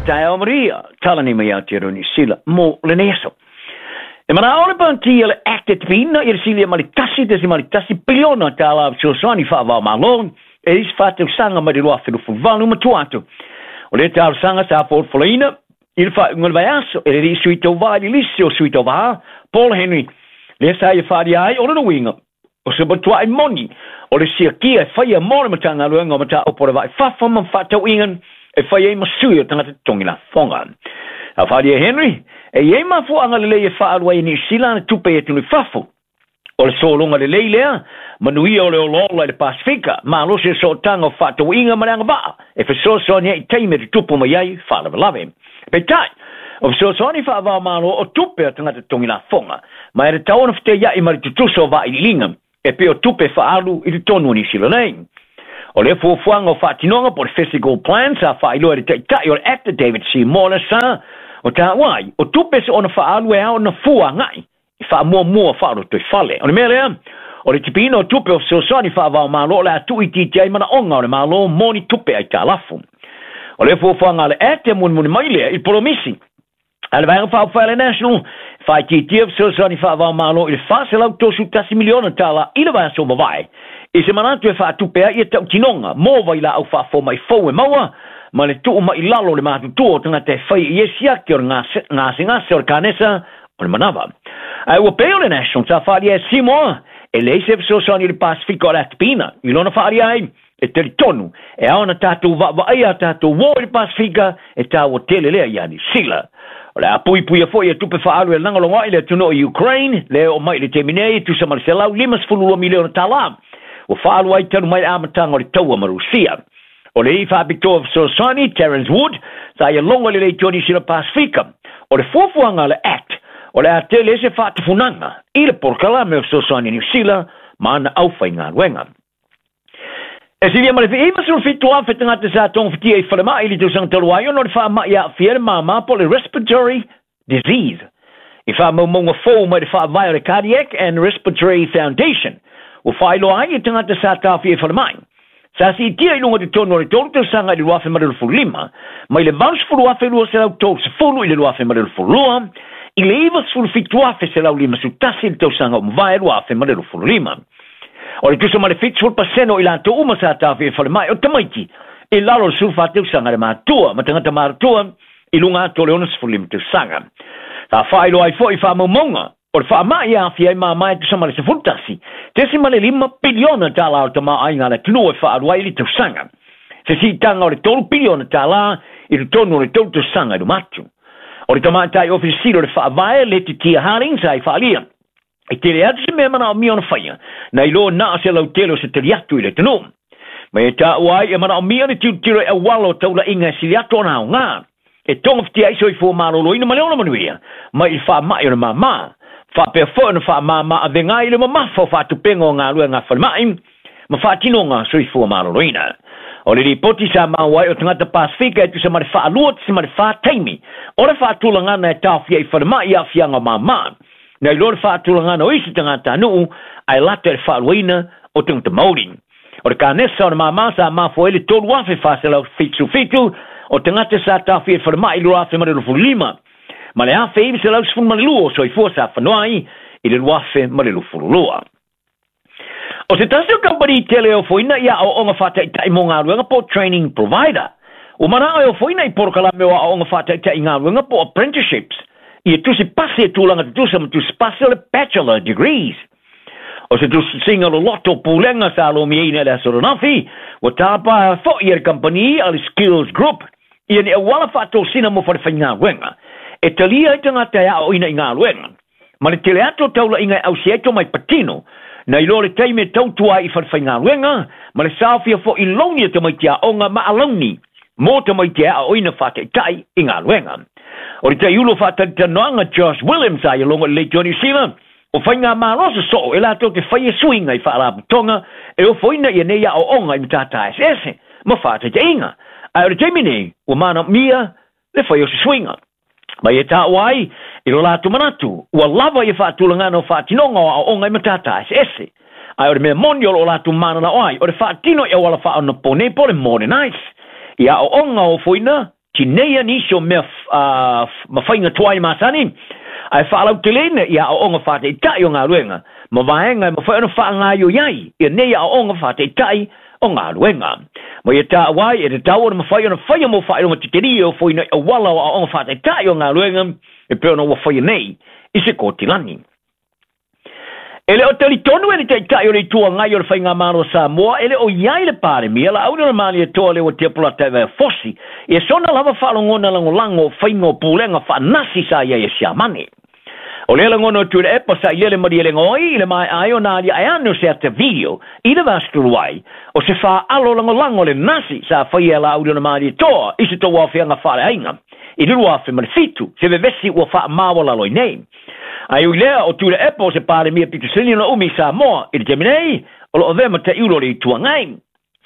taeao maria, tala nei mai Aotearoa Niu Sila mo lenei aso. E mana'o le Pāti a le ACT e tipiina i le silia ma le $1.1 piliona tālā fesoasoani faava-o-Malo e isi 4 tausaga mai le 2028 ma tua atu. O lea talosaga sa folafolaina i le faaiuga o le vaiaso e le alii sui tauvā i le lisi o sui tauvā Paul Henry, lea sa ia faaalia ai o lona uiga o se matua'i moni o le siakia e faia mo le Matagaluega o Mataupu o le Va i Fafo ma Fefaatauaiga e fai ai ma sui o tagata totogi lafoga. A faaalia e Henry, e i ai mafuaaga lelei e faaalu ai e Niu Sila ana tupe i atunuu i fafo. O le sologa lelei lea, manuia o le olaola i le Pasefika, malosi o sootaga o fefaatauaiga ma le agavaa e fesoasoani ai i taimi e tutupu mai ai faalavelave. Peitai, o fesoasoani faava-o-Malo o tupe a tagata totogi lafoga, ma e tatau ona feteiai ma le tutusa o vailiiliga e pei o tupe faaalu i totonu o Niu Sila nei. O lea fuafuaga o faatinoga po o le fiscal plan sa faailoa e le taitai o le ACT David Seymour le sa o taua ai, o tupe soona faaalu e ao ona fua agai i faamuamua faalotoifale. O le mea lea, o le tipiina o tupe o fesoasoani faava-o-Malo o le a tuuitiitia ai manaoga o le Malo mo ni tupe aitalafu. O le fuafuaga a le ACT e mulimuli mai lea i le polomisi a le Vaega Faaupufai a le National faaitiitia fesoasoani faava-o-Malo i le $431 miliona tālā i le vaiaso mavae, i se manatu e faatupe ai ia tautinoga mo vailaau faafomai fou e maua ma le tuu mai i lalo o le matutua o tagata e fai i ai siaki o le gasegase o le kanesa o le manava. Ae ua pei o le National sa faaalia e Seymour e leai se fesoasoani i le Pasefika o le atipina i lona faaalia ai e talitonu e ao ona tatou vaavaaia a tatou uo i le Pasefika e taua tele lea ia Niu Sila. O le a puipuia foi ia tupe faaalu e lagolago ai le atunuu o Ukraine lea e oo mai i le taimi nei e tusa ma le $152 miliona tālā ua faaalu ai talu mai le amataga o le taua ma Rusia. O le alii faapitoa fesoasoani Terence Wood sa ia logo i le leitio Niu Sila Pasefika. O le fuafuaga a le ACT o le a tele se faatufunaga i le polokalame o fesoasoani a Niu Sila ma ana aufaigaluega. E silia ma le 97,000 tagata sa togafitia i falemai i le tausaga talu ai ona o le faamai aafia le māmā po o le respiratory disease. I faamaumauga fou mai le faavae o le Cardiac and Respiratory Foundation, ua faailoa ai i tagata sa taofia i falemai. Sa siitia i luga totonu o le 3 tausaga i le 2025, mai le 80,230 i le 2022, i le 97,151 i le tausaga ua mavae 2025. O le tusa ma le 70% o i latou uma sa taofia i falemai o tamaiti i lalo o le 14 tausaga le matua ma tagata matutua i luga atu o le 65 tausaga. Sa faailoa ai foi faamaumauga o le faamai e aafia ai māmā e tusa ma le $11.5 piliona tālā o le tamaoaiga a le atunuu e faaalu ai i le tausaga. Se siitaga o le $3 piliona tālā i totonu o le 3 tausaga i luma atu. O le tamaitai Ofisa Sili o le Faavae Letitia Harding sa i faaalia e tele atu se mea manaomia ona faia, nai lo na o se lautele o se tali atu i le atunuu. Ma e taua ai e manaomia le tilotilo i auala o taulaiga e sili atu ona aoga e togafitia ai soifua maloloina ma le ona manuia mai i le faamai o le māmā. Faapea foi ona faamāmā avega ai le mamafa o faatupeina o galuega a falemai ma faatinoga soifua maloloina. O le lipoti sa maua ai o tagata Pasefika e tusa ma le 2.4 taimi o le faatulagana e taofia i falemai i aafiaga o māmā, nai lo le faatulagana o isi tagatanuu ae lata i le faaluaina o tagata Maori. O le kanesa o le māmā sa mafua ai le 3,477 o tagata sa taofia i falemai i le 2025 ma le 1912 o soifua sa fanoa ai i le 2022. O se tasi o kamupani tele e ofoina i aoaoga faataitai mo galuega po o training provider. Ua manao e ofoina i polokalame o aoaoga faataitai i galuega po o apprenticeships ia tusi pasi e tulaga tutusa ma tusi pasi o le bachelor degrees. O se tusitusiga loloto pulega sa lomiaina i le aso ananafi, ua tapa foi e le kamupani a le Skills Group ia ni auala faatosina mo falefaigaluega e talia ai tagata e aoaoina i galuega. Ma le tele atu o taulaiga e ausia ai tomai patino, nai lo le taimi e tautua ai i falefaigaluega, ma le saofia foi launi a tamaiti aoga ma alauni mo tamaiti e aoaoina faataitai i galuega. O le taiulu o faatalitanoaga Josh Williams sa ia logo i le leitio Niu Sila, o faigamalo sosoo e latou te faia suiga i faalapotopotoga e ofoina ia nei aoaoga i matata eseese ma faataitaiga. Ae o le taimi nei, ua manaomia le fai o se suiga. Ma e taua ai i lo latou manatu, ua lava ia faatulagana o faatinoga o aoaoga i matata eseese. Ae o le mea moni o loo latou mananao ai, o le faatino i auala faaonaponei po o le modernize i aoaoga ofoina Tineia nisi o mea ma faiga tuai masani, ae faalauteleina i aoaoga faataitai o galuega ma vaega e mafai ona faagaoioi ai ia nei aoaoga faataitai o galuega. Ma ia taua ai e tatau ona mafai ona faia mo faailoga tetelie o foina i auala o aoaoga faataitai o galuega e pei ona ua faia nei i Sekotilani. E le o talitonu e le Taitai o le Itu Agai o le Faigamalo a Samoa e le o i ai le Palemia Laaulialemalietoa Leuatea Polataivao Fosi ia sona lava faalogona lagolago o faiga o pulega faanasi sa i ai e Siamane. O lea lagona o Tuilaepa sa i lele malielegaoi i le maea ai ona aliae ane o se ata video i le vasa ai o se faaalo lagolago le nasi sa faia e Laaulialemalietoa i se tauaofiaga faaleaiga i le 2007 se vevesi ua faamaualalo ai nei. Ae ui lea o Tuilaepa o se Palemia pito sili ona umi i Samoa i le taimi nei, o loo avea ma taiulu o le Itu Agai.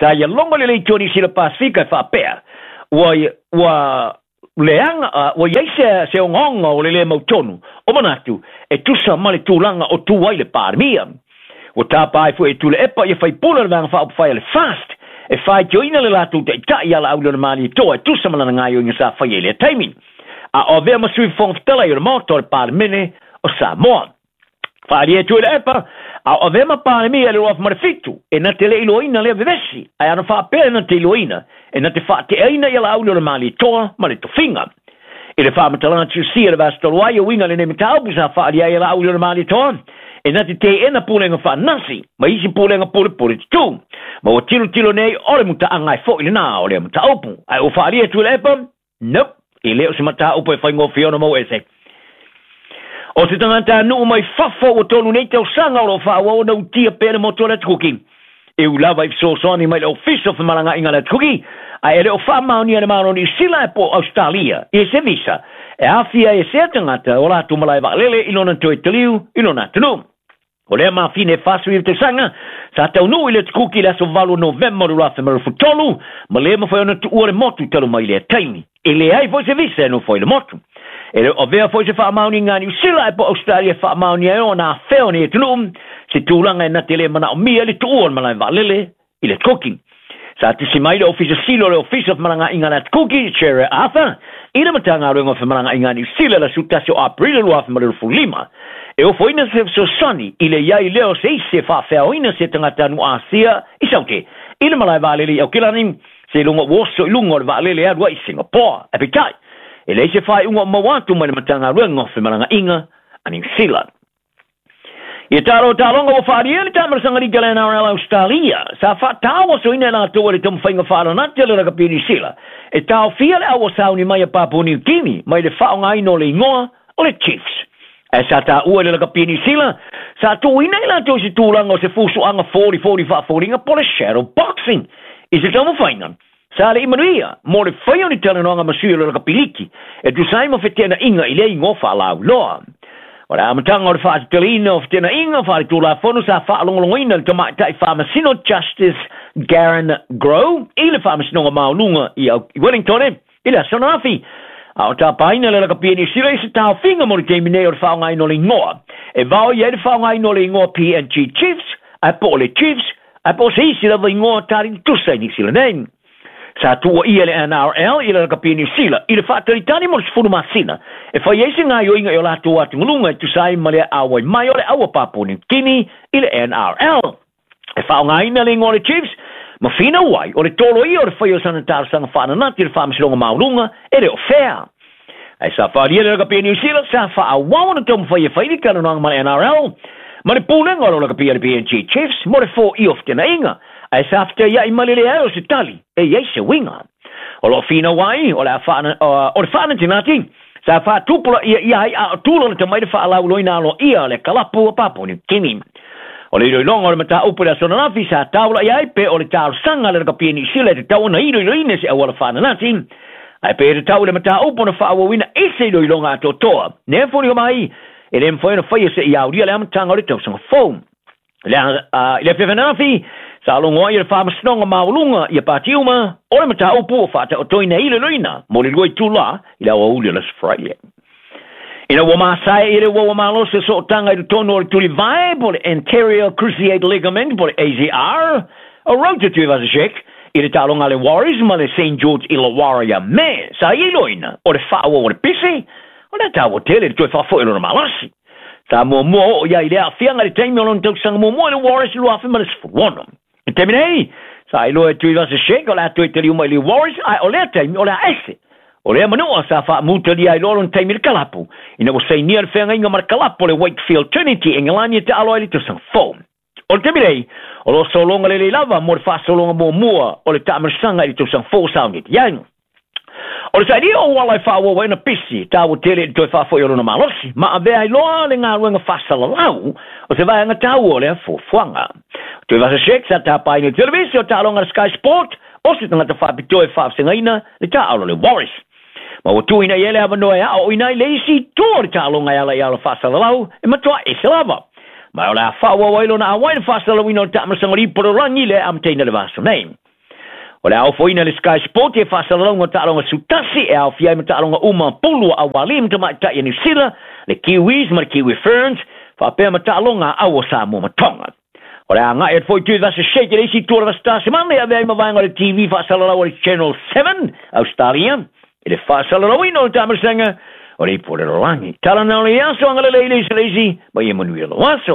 Sa ia logo le Itu o Niu Sila Pasifika e faapea, ua leaga, ua i ai se ogaoga o le lē mautonu o manatu e tusa ma le tulaga o tu ai le Palemia. Ua tapa ai foi e Tuilaepa ia faipule o le Vaega Faaupufai a le FAST e faitioina le latou taitai ia Laaulialemalietoa e tusa ma lana gaoioiga sa faia i lea taimi. A o avea ma Sui Fofoga Fetalai o le Maota o le Palemene o Samoa. Faaalia e Tuilaepa, a o avea ma Palemia i le 2007, e na te le iloaina lea vevesi, ae ana faapea e na te iloaina, e na te faateaina ia Laaulialemalietoa ma le tofiga. I le faamatalaga tusia le vasa talu ai e uiga lenei mataupu sa faaalia ai e Laaulialemalietoa, e na te teena pulega faanasi ma isi pulega pulepule tutū. Ma ua tilotilo nei o le mutaaga e fo'i lenā o lea mataupu. Ae ua faaalia e Tuilaepa, nope, e le o se mataupu e faigofie ona maua ese. O se tagatanuu mai fafo ua 3 nei tausaga o loo faaauau ona utia pea le motu o le Atukuki. E ui lava i fesoasoani mai le Ofisa o Femalagaaiga a le Atukuki, ae e le o faamaonia e le Malo o Niu Sila e po o Australia i se visa e aafia ai e sea tagata o latou malae vaalele i lona toe taliu i lona atunuu. O lea mafine e 49 tausaga sa taunuu i le Atukuki i le aso 8 o Novema o le 2023 ma le mafai ona tuua le motu talu mai lea taimi. E leai foi se visa e nofo ai le motu. E le o avea foi se faamaoniga a Niu Sila e po o Australia e faamaonia ai ona afea o nei atunuu se tulaga e na te le manaomia i le tuua o le malae vaalele i le Atukuki. Sa tusi mai le Ofisa Sili o le Ofisa o Femalagaaiga a le Atukuki, Sherry Arthur, i le Matagaluega o Femalagaaiga a Niu Sila le aso 11 o Aperila 2025. E ofoina se fesoasoani i le i ai lea o se isi e faafeaoina se tagatanuu Asia i Saute i le malae vaalele i Aukilani, se iloga ua oso i luga o le vaalele e alu ai i Singapore. Ae peitai, e leai se faaiuga o maua atu mai le Matagaluega o Femalagaaiga a Niu Sila. Ia talo taloga ua faaalia le taamalasaga lika le NRL Australia sa faatauasoina e latou e le taumafaiga faalanati a le lakapi o Niu Sila e taofia le aua sauni mai a Papua Niu Kini mai le faaaogaina o le igoa o le Chiefs. Ae sa taua i le lakapi o Niu Sila sa tuuina i latou i se tulaga o se fusuaga folifoli faafoliga po o le shadow boxing i se taumafaiga sa le i manuia mo le faia o ni talanoaga ma sui o le lakapi liki e tusa ai ma feteenaiga i lea igoa faalauiloa. O le amataga o le faateteleina o feteenaiga faaletulafono sa faalogologoina le tamaitai faamasino Justice Garen Grow i le Faamasinoga Maualuga i Wellington i le aso ananafi. A o tapaina le lakapi e Niu Sila i se taofiga mo le taimi nei o le faaaogaina o le igoa. E vaoia ai le faaaogaina o le igoa PNG Chiefs ae po o le Chiefs ae po o se isi lava igoa tali tutusa i Niu Sila nei. Sa tuuaia le NRL i le lakapi e Niu Sila i le faatalitali mo le 10 masina e fai ai se gaoioiga i o latou atugaluga e tusa ai ma le auai mai o le aua Papua Niu Kini i le NRL. E faaaogaina le igoa o le Chiefs ma finau ai o le tolo ia o le fai o sana talosaga faananati i le Faamasinoga Maualuga e le o fea. Ae sa faaalia le lakapi e Niu Sila sa faaauau ona taumafai e fai le talanoaga ma le NRL ma le pulega o lo lakapi a le PNG Chiefs mo le foia o fetenaiga, ae sa fetaiai ma le leai o se tali e i ai se uiga. O loo finau ai o le o le faanatinati sa faatupulaia ia ai a o tula mai le faalauiloina aloaia o le kalapu a Papua Niu Kini. O le iloiloga o le mataupu i le aso ananafi sa taula'i ai pe o le talosaga a le lakapi e Niu Sila e tatau ona iloiloina se auala faananati, ae pe tatau i le mataupu ona faaauauina i se iloiloga atoatoa. Nea foliga mai e le mafai ona faia seia aulia le amataga o le tausaga fou. I le afiafi ananafi, sa logo ai e le Faamasinoga Maualuga ia pati uma o le mataupu o faataotoina e iloiloina mo le 2 itulā i le aoauli o le aso Friday. Ina ua masae i le uaua malosi o sootaga i totonu o le tulivae po o le anterior cruciate ligament po o le ACR, o Roger Tuivasa-Sheck I le taaloga a le Warriors ma le St George Illawarra ia Me, sa iloina o le faaauau o le pisi, o le taua tele le toe faafoi o lona malosi. Sa muamua oo i ai i le aafiaga i le taimi o lona tausaga muamua i le Warriors i le 2016. I le taimi nei, sa iloa e Tuivasa-Sheck o le a toe taliu mai i le Warriors, ae o lea taimi o le a ese. O lea manua sa faamutalia ai loa lona taimi i le kalapu, ina ua sainia le feagaiga ma le kalapu o le Wakefield Trinity i Engelani e taalo ai i le tausaga fou. O le taimi nei, o lo o sologa lelei lava mo le faasologa muamua o le taamilosaga i le tausaga fou o saunitia ai. O le sailia o auala e faaauau ai ona pisi, taua tele i le toe faafoi o lona malosi, ma avea ai loa le galuega faasalalau o se vaega taua o lea fuafuaga. O Tuivasa-Sheck sa tapaina i le televise o taaloga a le Sky Sport, o se tagata faapitoa e faavasegaina le taaalo a le Warriors. Ma ua tuuina i ai le avanoa e aoaoina ai le isi itu o le taaloga e ala i ala faasalalau e matua ese lava. Ma o le a faaauau ai lona auai i le faasalalauina o le taamilosaga o le ipu o le lagi lea e amataina i le vaiaso nei. O le a ofoina le Sky Sport e faasalalauga o taaloga sutasi e aofia ai ma taaloga uma pulu a aualii ma tamaitai a Niu Sila, le Kiwis ma le Kiwi Ferns, faapea ma taaloga a au o Samoa ma Tonga. O le a agai atu foi Tuivasa-Sheck i le isi itu o le Vasata Semane e avea ai ma vaega o le TV faasalalau a le Channel 7, Ausetalia, i le faasalalauina o le taamilosaga o le ipu o le lalolagi. Tala na o le aso, agalelei le isi i le isi, ma ia manuia lou aso.